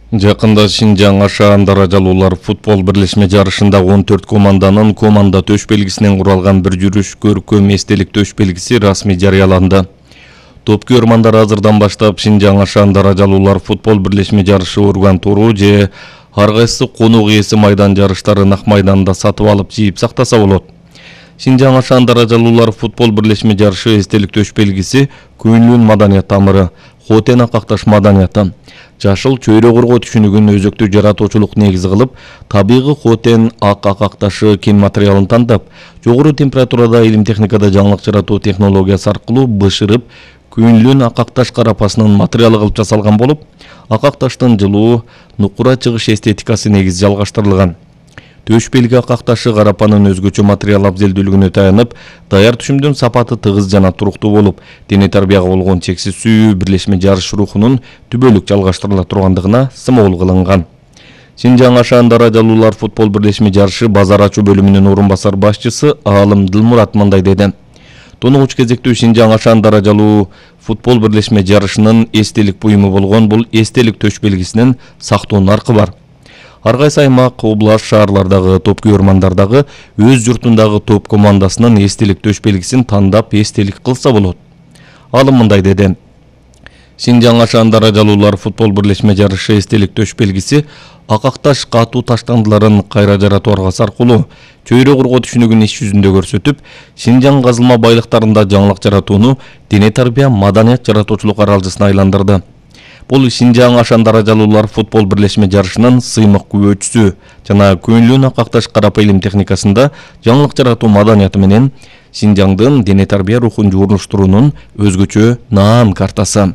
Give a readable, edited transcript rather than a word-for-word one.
Жакында Шинжаң Ашаан даражалуулар футбол бирлешме жарышында 14 команданын команда төш белгисинен куралган бир жүрүш көркөм эстелик төш белгиси расмий жарыяланды. Топкөрмандар азырдан баштап Шинжаң Ашаан даражалуулар футбол бирлешме жарышы урган туру же ар кайсы конук ээси майдан жарыштарын ак майданда сатып алып жийип сактаса болот. Шинжаң Ашаан даражалуулар футбол бирлешме жарышы эстелик төш белгиси Күнлүн маданият тамыры, Хотен акакташ маданияты, жашыл чөйрө коргоо түшүнүгүн өзөктүү жаратуучулук негизи кылып, табигый Хотен акакташы кен материалын тандап, жогору температурада илим техникада жаңылык жаратуу технологиясы аркылуу бышырып, Күнлүн акакташ карапасынын материалы кылып жасалган болуп, акакташтын жылуу, нукура чыгыш эстетикасы негизи жалгаштырылган. Төш белги акакташы карапанын өзгөчө материал абзелдүүлүгүнө таянып, даяр түшүмдүн сапаты тыгыз жана туруктуу болуп, дене тарбияга болгон чексиз сүйүү бирлешме жарыш рухунун түбөлүк жалгаштырыла тургандыгына сымол кылынган. Шинжаң Ашаан даражалуулар футбол бирлешме жарышы базар ачуу бөлүмүнүн орун басар башчысы Аалым Дылмурат мындай деди. Тонугуч кезектүү Шинжаң Ашаан даражалуу футбол бирлешме жарышынын эстелик буюму болгон бул эстелик төш белгисинин сактоо наркы бар. Ар кайсы аймак, област, шаарлардагы топкөрмандардагы өз журтундагы топ командасынын эстелик төш белгисин тандап эстелик кылса болот. Алым мындай деди. Шинжаң Ашаан даражалуулар футбол бирлешме жарышы эстелик төш белгиси акакташ катуу таштандыларын кайра жаратуу аргасы аркылуу чөйрө коргоо түшүнүгүн иш жүзүндө көрсөтүп, Шинжаң казылма байлыктарында жаңылык жаратууну дене тарбия маданият жаратуучулук аралжысына айландырды. Бул Шинжаң Ашаан даражалуулар футбол бирлешме жарышынын сыймык күбөчүсү жана Күнлүн акакташ карапа илим техникасында жаңылык жаратуу маданияты менен Шинжаңдын дене тарбия рухун жуурунуштуруунун өзгөчө наан картасы.